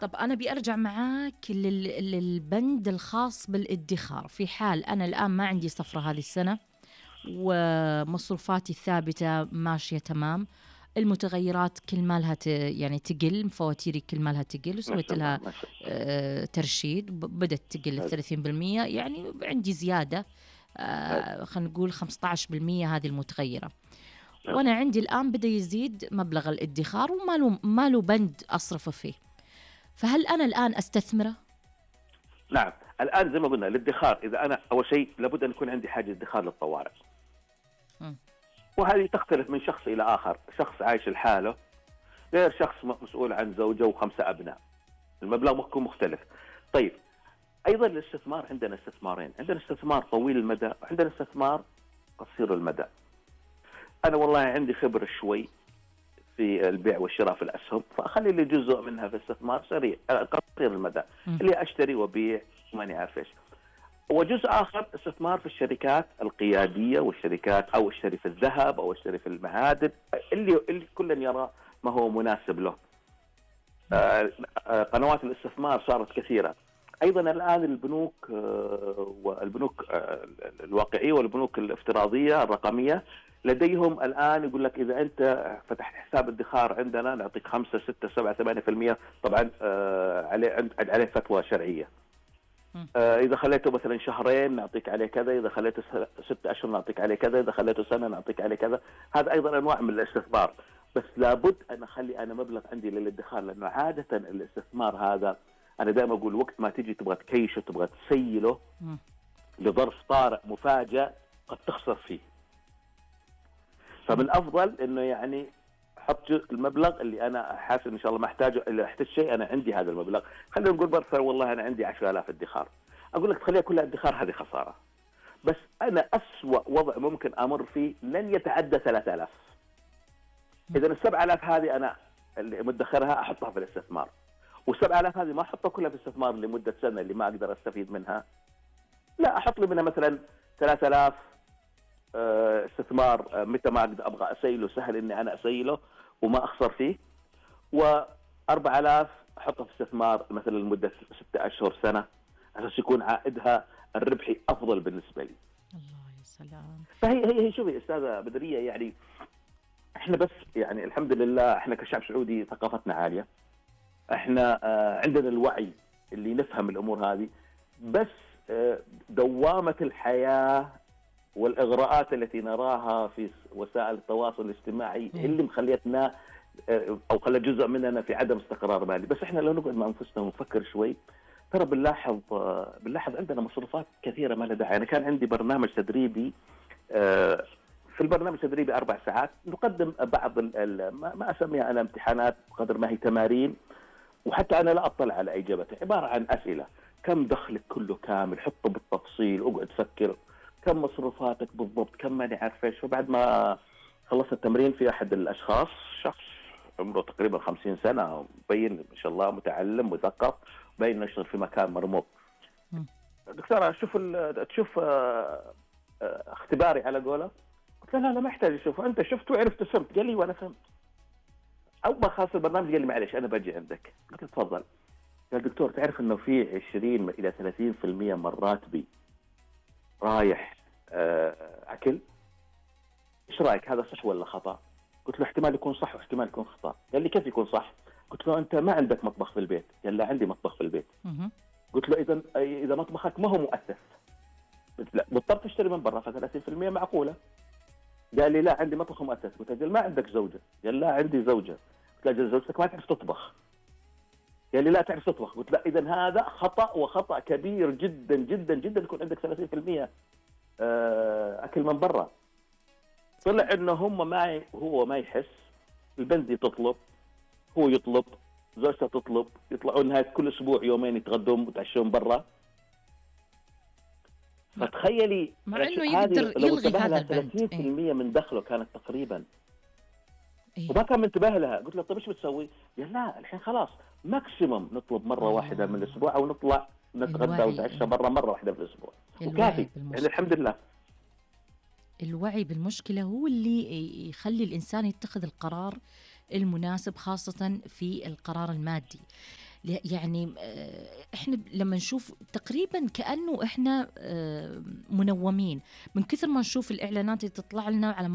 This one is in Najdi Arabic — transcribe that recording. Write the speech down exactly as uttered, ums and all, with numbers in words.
طب أنا بيرجع معاك لل- للبند الخاص بالادخار. في حال أنا الآن ما عندي صفرة هذه السنة ومصروفاتي الثابتة ماشية تمام، المتغيرات كل مالها ت... يعني تقل، فواتيري كل مالها تقل، ما وسويت شاء الله لها ما شاء الله. آه، ترشيد، ب- بدأت تقل حلو ثلاثين بالمية، يعني عندي زيادة حلو آه، خلينا نقول خمسة عشر بالمية هذه المتغيرة. حلو. وأنا عندي الآن بدأ يزيد مبلغ الادخار وما له ما له بند أصرفه فيه، فهل أنا الآن أستثمره؟ نعم، الآن زي ما قلنا الادخار، إذا أنا أول شيء لابد أن يكون عندي حاجة ادخار للطوارئ، مم. وهذه تختلف من شخص إلى آخر. شخص عايش لحاله غير شخص مسؤول عن زوجة وخمسة أبناء، المبلغ ممكن مختلف. طيب، أيضا الاستثمار عندنا استثمارين، عندنا استثمار طويل المدى وعندنا استثمار قصير المدى. أنا والله عندي خبرة شوي في البيع والشراء في الأسهم، فأخلي لي جزء منها في استثمار سريع قصير المدى مم. اللي أشتري وبيع وماني عارف إيش، وجزء آخر استثمار في الشركات القيادية والشركات، أو اشتري في الذهب أو اشتري في المعادن، اللي اللي كل يرى ما هو مناسب له. آه، آه، قنوات الاستثمار صارت كثيرة. أيضا الآن البنوك آه، والبنوك آه، الواقعية والبنوك الافتراضية الرقمية لديهم الآن يقول لك إذا أنت فتحت حساب ادخار عندنا نعطيك خمسة ستة سبعة ثمانية في المية، طبعا آه، عليه عليه فتوى شرعية. مم. آه، إذا خليته مثلا شهرين نعطيك عليه كذا، إذا خليته س- ست أشهر نعطيك عليه كذا، إذا خليته سنة نعطيك عليه كذا. هذا أيضا أنواع من الاستثمار، بس لابد أن أخلي أنا مبلغ عندي للادخار، لأنه عادة الاستثمار هذا أنا دائما أقول وقت ما تيجي تبغى تكيشه تبغى تسيله مم. لظرف طارئ مفاجئ قد تخسر فيه. فمن الأفضل إنه يعني حط جزء المبلغ اللي أنا حاسس إن شاء الله ما أحتاجه، إلا أحتاج شيء أنا عندي هذا المبلغ. خلينا نقول برثة والله أنا عندي عشرة آلاف ادخار، أقول لك تخليها كلها ادخار، هذه خسارة. بس أنا أسوأ وضع ممكن أمر فيه لن يتعدى ثلاثة آلاف. إذا السبعة آلاف هذه أنا اللي مدخرها أحطها في الاستثمار، والسبعة آلاف هذه ما أحطها كلها في الاستثمار لمدة سنة اللي ما أقدر أستفيد منها، لا أحط لي منها مثلا ثلاثة آلاف آه، استثمار آه، متى ما أقدر أبغى أسيله سهل إني أنا أسيله وما أخسر فيه، وأربعة آلاف أحطها في استثمار مثلا لمدة ستة أشهر سنة، عشان يكون عائدها الربحي أفضل بالنسبة لي. الله يا سلام. فهي هي هي شوفي أستاذة بدرية، يعني إحنا بس يعني الحمد لله إحنا كشعب سعودي ثقافتنا عالية، إحنا آه، عندنا الوعي اللي نفهم الأمور هذه، بس آه، دوامة الحياة والإغراءات التي نراها في وسائل التواصل الاجتماعي مم. اللي مخليتنا آه، أو خلى جزء مننا في عدم استقرار مالي. بس إحنا لو نقعد مع أنفسنا ونفكر شوي ترى بنلاحظ آه، بنلاحظ عندنا مصروفات كثيرة ما لها داعي. أنا كان عندي برنامج تدريبي، آه، في البرنامج التدريبي أربع ساعات نقدم بعض ال- ال- ما ما أسميها أنا امتحانات قدر ما هي تمارين، وحتى أنا لا أطلع على إجابتها، عبارة عن أسئلة: كم دخلك كله كامل، حطه بالتفصيل، اقعد فكر كم مصروفاتك بالضبط، كم ماني عارف ايش. وبعد ما خلصت التمرين في أحد الأشخاص، شخص عمره تقريبا خمسين سنة، مبين ما شاء الله متعلم مثقف، باين يشتغل في مكان مرموق. مم. دكتورة شوف ال- تشوف آه، آه، اختباري على قوله. قلت له لا لا ما يحتاج اشوف، انت شفت وعرفت فهمت. قال لي وانا فهمت. اول ما خلص البرنامج قال لي معلش انا بجي عندك. قلت له تفضل. قال دكتور تعرف انه في عشرين الى ثلاثين بالمئة من راتبي رايح آه، اكل، ايش رايك هذا صح ولا خطا؟ قلت له احتمال يكون صح واحتمال يكون خطا. قال لي كيف يكون صح؟ قلت له انت ما عندك مطبخ في البيت. قال لا عندي مطبخ في البيت. مهم. قلت له اذا اذا مطبخك ما هو مؤسس، قلت لا مضطر تشتري من برا، ف ثلاثين بالمئة معقوله. قال لي لا عندي مطبخ مؤسس. قلت له ما عندك زوجه؟ قال لا عندي زوجه. قلت له أجل زوجتك ما تعرف تطبخ. قال لي لا تعرف تطبخ. قلت لا اذا هذا خطا، وخطا كبير جدا جدا جدا يكون عندك ثلاثين بالمئة آه، اكل من برا. طلع انه هم ما ي- هو ما يحس، البنزي تطلب، هو يطلب، زوجته تطلب، يطلعوا نهايه كل اسبوع يومين يتغدون ويتعشون برا. مع, فتخيلي مع انه هذه يقدر لو يلغي انتبه هذا لها البند. ايه. ثلاثين بالمئة من دخله كانت تقريبا، ايه. وما كان منتبه لها. قلت له طيب ايش بتسوي؟ قال لا الحين خلاص ماكسيموم نطلب مره واحده من آه. الاسبوع، او نطلع نتغدى الوعي. ونتعشى إيه. برا مره واحده في الاسبوع، الوعي وكافي يعني بالمشكلة. الحمد لله. الوعي بالمشكلة هو اللي يخلي الإنسان يتخذ القرار المناسب، خاصة في القرار المادي. يعني إحنا لما نشوف تقريبا كأنه إحنا منومين من كثر ما نشوف الإعلانات اللي تطلع لنا على مواقع